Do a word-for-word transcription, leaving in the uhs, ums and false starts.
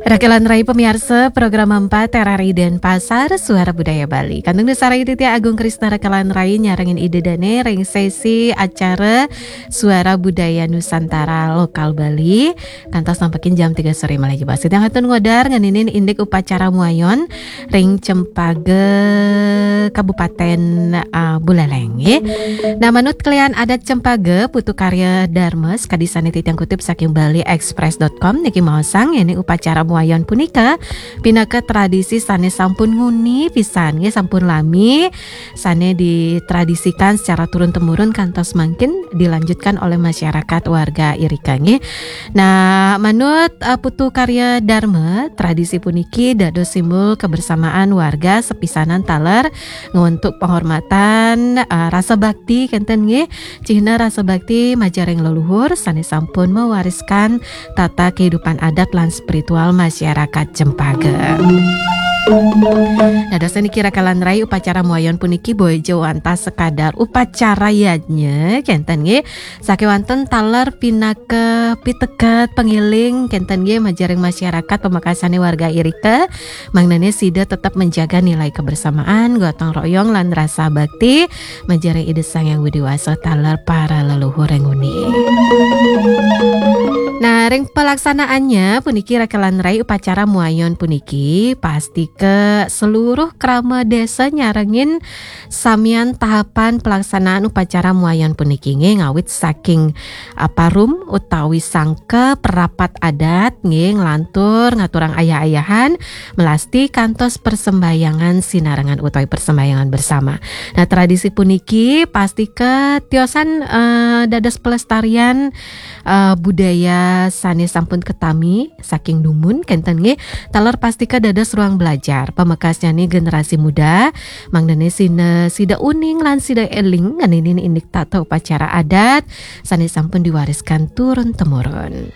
Rakelan Rai pamiarsa, program empat R R I Denpasar, Suara Budaya Bali. Kantun sareng titiang Agung Krisna Rakelan Rai nyarengin Ida Dane ring sesi acara Suara Budaya Nusantara Lokal Bali. Kantos nampekin jam tiga sore malih jebos. Titiang kantun ngodar ngeninin indik upacara muayon ring Cempaka, Kabupaten, ah, Buleleng, nggih. Nah, manut kelian adat Cempaka, Putu Karya Dharma, sakadi sane titiang kutip saking bali express dot com niki maosang, yen upacara muayon punika pinaka tradisi sane sampun nguni pisan, nggih, sampun lami, sane ditradisikan secara turun-temurun kantos mangkin dilanjutkan oleh masyarakat warga irika, nggih. Nah, manut, eh, Putu Karya Dharma, tradisi puniki dados simbol kebersamaan warga sepisanan taler ngwentuk penghormatan, eh, rasa bakti kenten, nggih. Cihna rasa bakti majaring leluhur sane sampun mewariskan tata kehidupan adat lan spiritual masyarakat Cempaka. Dados niki Rakelan Rai, upacara muayon puniki boya wantah sekadar upacara yadnya kenten, nggih. Sakewanten taler pinaka piteket pangiling kenten, nggih, majaring masyarakat pamekasane warga irika, mangnane sida tetep menjaga nilai kebersamaan, gotong royong, lan rasa bakti majaring Ida Sang Hyang Widi Wasa taler para leluhur ring nguni. Nah, ring pelaksanaannya puniki Rakelan Rai, upacara muayon puniki pastika seluruh krama desa nyarengin samian tahapan pelaksanaan upacara muayon puniki, nggih, ngawit saking, ah, parum utawi sangka, perapat adat, nggih, nglantur ngaturang ayah-ayahan, melasti kantos persembahyangan sinarengan utawi persembahyangan bersama. Nah, tradisi puniki pastika tiosan, eh, dados pelestarian, eh, budaya sane sampun ketami saking dumun kenten, nggih, taler pastika dados ruang belajar pamekasnyane generasi muda, mangnane sine sida uning lan sida eling ngeninin indik tata upacara adat sane sampun diwariskan turun temurun.